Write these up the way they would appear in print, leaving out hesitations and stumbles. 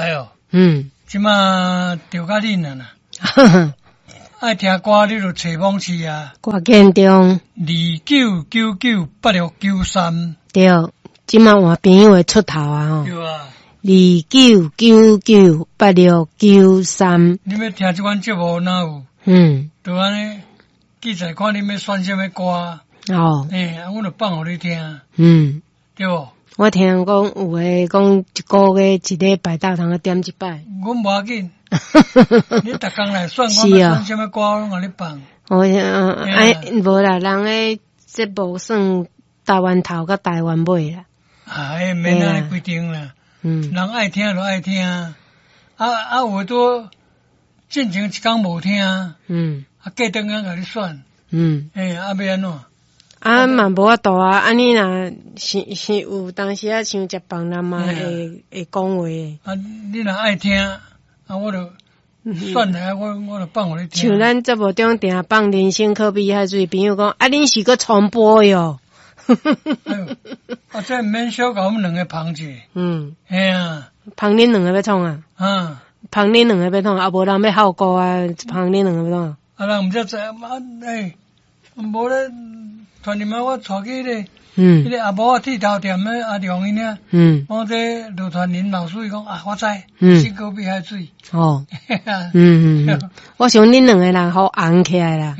來哦。嗯。這馬著甲恁啊啦。愛聽歌，你就揣網址啊。歌建中。29998693。對，這馬換朋友會出頭啊吼。對啊。29998693。你欲聽這款節目哪有？就按呢，記載看你欲選啥物歌。欸，啊，阮就放予你聽。對無？我聽講有的講一個月一禮拜鬥通點一擺。阮無要緊，你逐工來選，我欲選啥物歌，攏予你放。我哎，無啦，人的節目算台灣頭佮台灣尾啦。啊，彼免按呢規定啦。人愛聽就愛聽，啊啊，有的拄進前一工無聽。啊，過轉工共你選。欸，啊，欲按怎？啊嘛無法度啊！按呢若是是有當時啊，像食飯人嘛會會講話的。啊，你若愛聽，啊，我就選來，我就放予你聽。像咱節目中定放人生可比海水，朋友講啊，恁是閣重播喲。哎喲，啊，這毋免小共阮們兩个捧者。嘿啊。捧恁兩个欲創啊？啊。捧恁兩个欲創啊？無人欲號歌啊？捧恁兩個欲創？啊，人毋才知啊？欸，無咧。傳入來，我帶去彼个，彼个阿母仔剃頭店的阿良𪜶遐。我這盧傳林老師伊講啊，我知，人生可比海水。哦。嗯，我想恁兩個人好紅起來啦。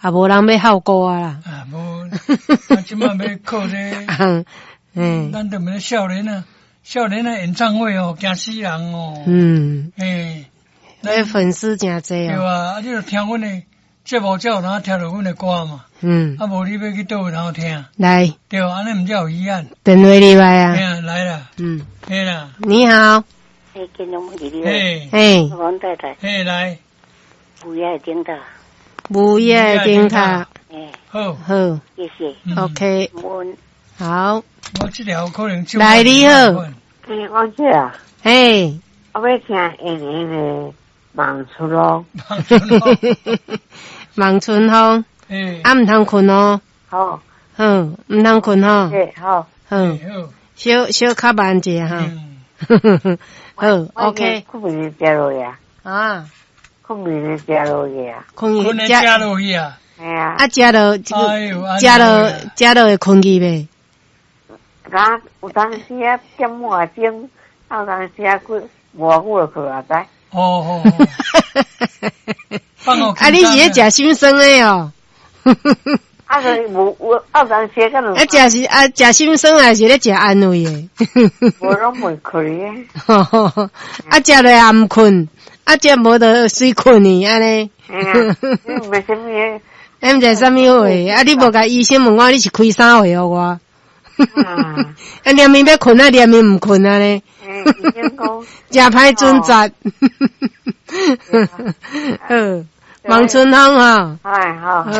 啊，無人欲號歌啊啦。啊，無，啊，這馬欲靠這個。咱著免少年啊，少年的演唱會哦，驚死人哦。欸。那粉絲誠濟哦。對啊，啊，你著聽阮的節目才有通聽著阮的歌嘛。啊，無你欲去佗位通聽？來。對，按呢毋才有遺憾。電話入來啊。嘿啊，來啦。嘿啦。你好。欸，金龍你好。嘿。嘿。王太太。嘿，來。午夜的燈塔。午夜的燈塔。欸。好。好。謝謝。 OK。好。我這條可能。來，你好。欸，王姐啊。嘿。我欲聽演員的《望春風》。望春風。啊，毋通睏哦。好。好，毋通睏吼。好。好。小小較慢一下哈。好，OK。睏眠食落去啊。啊。睏眠食落去啊。睏去食落去啊。嘿啊。啊，食落這個，食落食落會睏去袂？啊，有當時啊，點半鐘，啊，有當時啊，幾無久就睏啊，知。哦哦。啊，你是咧食心酸的哦？啊，就無有啊，有當時可能。啊，食是啊，食心酸還是咧食安慰的？無攏袂睏的。啊，食落也毋睏，啊，食無就隨睏去按呢。嘿啊，你毋知啥物的。你毋知啥物貨？啊，你無共醫生問我，你是開啥會予我？啊，連伊欲睏啊，連伊毋睏按呢。誠歹準則。好，望春風吼。哎，好。好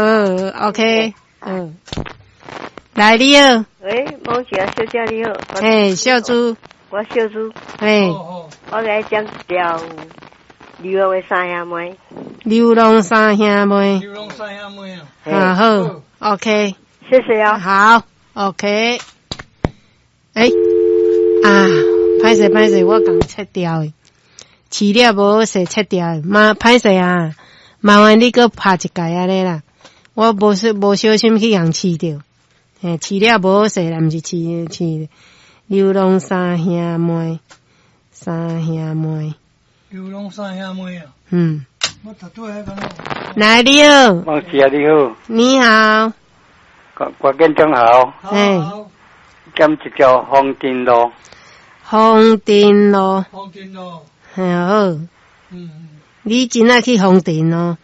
，OK，嗯。來，你好。喂，某姐小姐你好。嘿，小朱。我小朱。嘿。我來講條流浪的三兄妹。流浪三兄妹。流浪三兄妹啊。啊好，OK。謝謝啊。好，OK。欸，啊，歹勢歹勢，我共切掉的，飼料無好勢切掉的，嘛歹勢啊，麻煩你閣拍一擺按呢啦，我無小心去共飼著，嘿，飼料無好勢啦，毋是飼飼流浪三兄妹，三兄妹，流浪三兄妹啊，我頭拄仔彼個。來，你好，孟姐你好，你好，郭建中好，嘿。點一條風塵路，風塵路，風塵路，嘿好。你真愛去風塵咯？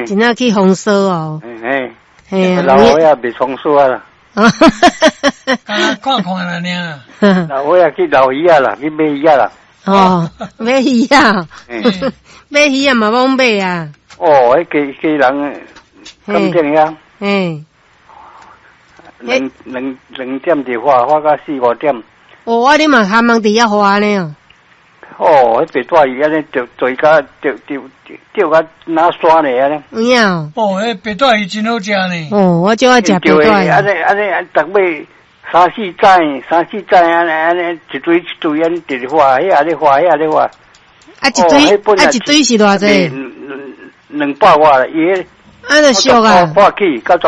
真愛去風騷哦。嘿，嘿啊，老歲仔袂風騷啊啦。看看啦，爾。老歲仔去撈魚仔啦，去買魚仔啦。哦，買魚仔，買魚仔嘛罔買啊。哦，彼家家人感情遐。兩點就發，發到四五點。哦，啊，你嘛含人佇遐發呢哦。哦，彼白帶魚按呢釣釣甲釣釣釣甲若山咧按呢。有影哦，彼白帶魚真好食呢。哦，我就愛食白帶魚。按呢按呢，逐尾三四指，三四指按呢按呢，一堆一堆按呢直發，遐咧發，遐咧發。啊一堆啊一堆是偌濟？200外，伊啊就俗啊！破起，九十